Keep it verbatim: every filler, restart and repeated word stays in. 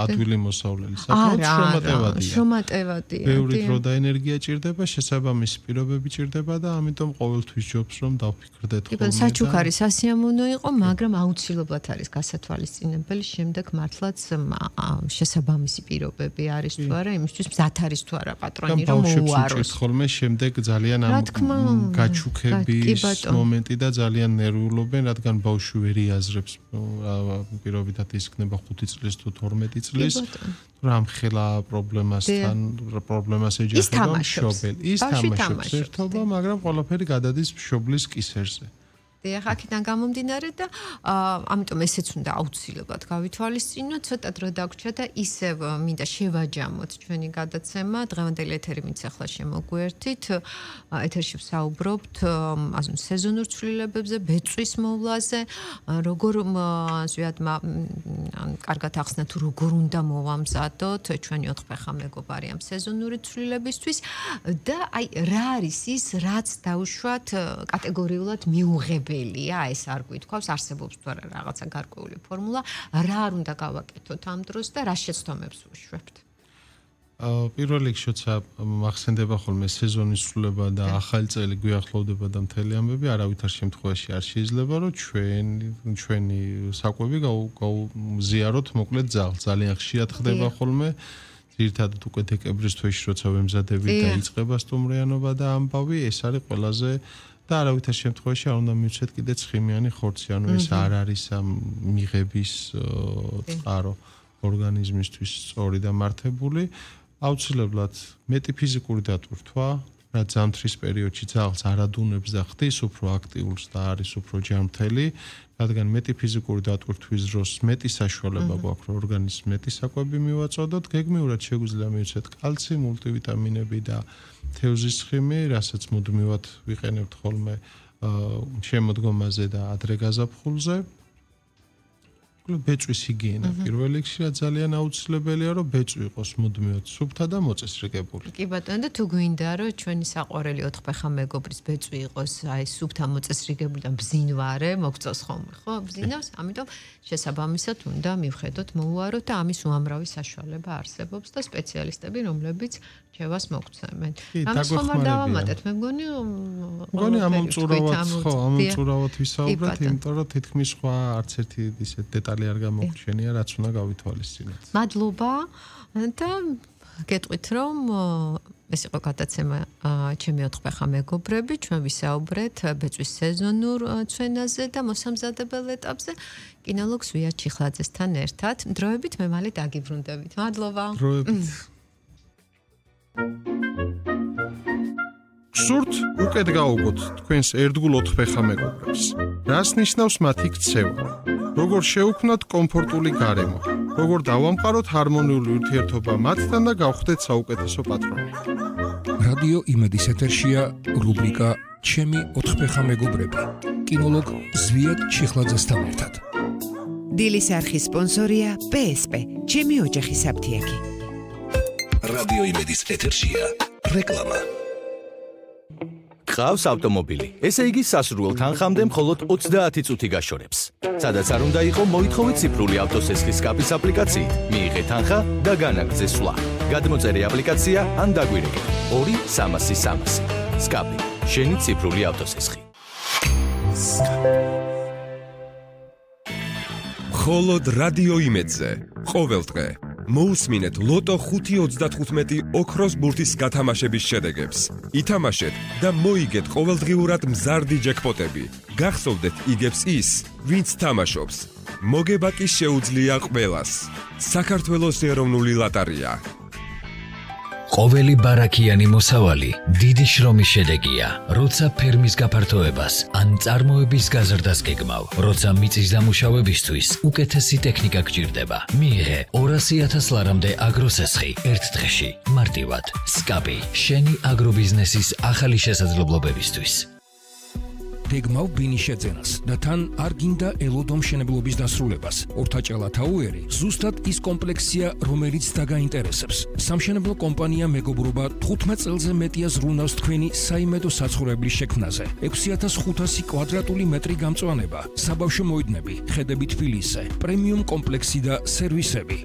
ადვილი მოსავლელი საკმაოდ შრომატევადია. შრომატევადია. ბევრი დრო და ენერგია ჭირდება, შესაბამისი პირობები ჭირდება და ამიტომ ყოველთვის ჯობს რომ დავფიქრდეთ ხოლმე. იბენ საჩუქარი სასიამოვნო იყო, მაგრამ აუცილებლად არის გასათვალისწინებელი შემდეგ მართლაც შესაბამისი პირობები არის თუ არა, იმისთვის მზად არის თუ არა პატრონი რომ მოუაროს. ხოლმე შემდეგ ძალიან ამ გაჩუქების მომენტი და ძალიან ნერვიულობენ, რადგან ბავშვი ვერ იაზრებს პირობითად ის იქნება ხუთი წლის თუ თორმეტი წლის რამ ხელა პრობლემასთან პრობლემას ეჯახება მშობელი ის თამაშობს ერთობა მაგრამ ყველაფერი გადადის მშობლის კისერზე დიახ, აქედან გამომდინარე და ამიტომ ესეც უნდა აუცილებლად გავითვალისწინოთ, ცოტა დრო დაგვრჩა და ისევ მინდა შევაჯამოთ ჩვენი გადაცემა. დღევანდელი ეთერი ვინც ახლა შემოგვერთით, ეთერში ვსაუბრობთ ასე სეზონურ ცვლილებებზე, ბეწვის მოვლაზე, როგორ ზვიად კარგად ახსნა თუ როგორ უნდა მოვამზადოთ ჩვენი ოთხფეხა მეგობარი ამ სეზონური ცვლილებისთვის და აი რა არის ის, რაც დაუშვათ კატეგორიულად მიუღებელია. ეს არ გვითქვავს, არსებობს თუ არა რაღაცა გარკვეული ფორმულა, რა არ უნდა გავაკეთოთ ამ დროს და რა შეცდომებს ვუშვებთ. პირველ რიგში როცა მახსენდება ხოლმე სეზონის სრულება და ახალი წელი გვიახლოვდება და მთელი ამბები, არავითარ შემთხვევაში არ შეიძლება რომ ჩვენი ჩვენი საკვები გავზიაროთ მოკლედ ძალ. ძალიან ხშირად ხდება ხოლმე ძირითადად უკვე დეკემბრის თვეში როცა ვემზადებით და იწყება სტუმრიანობა და ამბავი, ეს არის ყველაზე და არავითარ შემთხვევაში არ უნდა მივცეთ კიდე ცხიმიანი ხორცი, ანუ ეს არ არის ამ მიღების წყარო ორგანიზმისთვის სწორი და მართებული. აუცილებლად მეტი ფიზიკური დატვირთვა, რაც ზამთრის პერიოდში ძალს არადუნებს და ხდის უფრო აქტიურს და არის უფრო ჯანმრთელი, რადგან მეტი ფიზიკური დატვირთვის დროს მეტი საშუალება გვაქვს, რომ ორგანიზმს მეტი საკვები მივაწოდოთ, გეგმიურად შეგვიძლია მივცეთ კალცი, მულტივიტამინები და თევზის ცხიმი, რასაც მუდმივად ვიყენებთ ხოლმე შემოდგომაზე და ადრე გაზაფხულზე. ბეწვის ჰიგიენა პირველ რიგში რა ძალიან აუცილებელია, რომ ბეწვი იყოს მუდმივად სუფთა და მოწესრიგებული. კი ბატონო, და თუ გვინდა რომ ჩვენი საყვარელი ოთხფეხა მეგობრის ბეწვი იყოს აი სუფთა მოწესრიგებული და ბზინვარე, მოგწოს ხოლმე, ხო? ბზინავს, ამიტომ შესაბამისად უნდა მივხედოთ, მოუაროთ და ამის უამრავი საშუალება არსებობს და სპეციალისტები, რომლებიც ჩევას მოგცემენ. ამას ხომ არ დავამატეთ, მე მგონი მგონი ამომწურავად, ხო, ამომწურავად ვისაუბრეთ, იმიტომ რომ თითქმის სხვა არც ერთი ისეთ დეტალი არ გამოგვჩენია, რაც უნდა გავითვალისწინოთ. მადლობა და გეტყვით რომ ეს იყო გადაცემა ჩემი ოთხფეხა მეგობრები, ჩვენ ვისაუბრეთ ბეწვის სეზონურ ცვენაზე და მოსამზადებელ ეტაპზე კინოლოგ ზვიად ჩიხლაძესთან ერთად. დროებით მე მალე დაგიბრუნდებით. მადლობა. დროებით. გსურთ უკეთ გაუგოთ თქვენს ერთგულ ოთხფეხა მეგობრებს. რას ნიშნავს მათი ქცევა? როგორ შევქმნათ კომფორტული გარემო? როგორ დავამყაროთ ჰარმონიული ურთიერთობა მათთან და გავხდეთ საუკეთესო პატრონი? რადიო იმედის ეთერშია რუბრიკა ჩემი ოთხფეხა მეგობრები. კინოლოგ ზვიად ჩიხლაძესთან ერთად. დილის არხის სპონსორია პე ეს პე, ჩემი ოჯახი საფთიაკი. რადიო იმედის ეთერშია რეკლამა. გყავს ავტომობილი, ესე იგი სასურველ თანხამდე მხოლოდ ოცდაათი წუთი გაშორებს. სადაც არ უნდა იყო, მოითხოვეთ ციფრული ავტოსესხის სკაფის აპლიკაციით, მიიღეთ თანხა და განაგრძე სვლა. გადმოწერე აპლიკაცია ან დაგვირეკე ორი სამასი სამასი. სკაფი, შენი ციფრული ავტოსესხი. მხოლოდ რადიო იმედზე ყოველდღე მოусმინეთ ლოტო ხუთი ოცდათხუთმეტი ოქროს ბურთის გათამაშების შედეგებს. ითამაშეთ და მოიგეთ ყოველდღიურად მზარდი ჯეკპოტები. გახსოვდეთ იგებს ის, ვინც თამაშობს. მოგება კი შეუძლია ყველას. საქართველოს ეროვნული ლოტარია. ყოველი ბარაქიანი მოსავალი დიდი შრომის შედეგია, როცა ფერმის გაფართოებას ან წარმოების გაზრდას გეგმავ, როცა მიწის დამუშავებისთვის უკეთესი ტექნიკა გჭირდება. მიიღე ორასი ათას ლარამდე აგროსესხი ერთ დღეში, მარტივად. სკაპი, შენი აგრობიზნესის ახალი შესაძლებლობებისთვის. გეგმავ ბინის შეძენას და თან არ გინდა ელოდო მშენებლობის დასრულებას. ორთაჭალა თაუერი ზუსტად ის კომპლექსია, რომელიც დაგაინტერესებს. სამშენებლო კომპანია მეგობრობა თხუთმეტ წელზე მეტია ზრუნავს თქვენი საიმედო საცხოვრებლის შექმნაზე. ექვსი ათას ხუთასი კვადრატული მეტრი გამწვანება, საბავშვო მოედნები, ხედები თბილისზე, პრემიუმ კომპლექსი და სერვისები.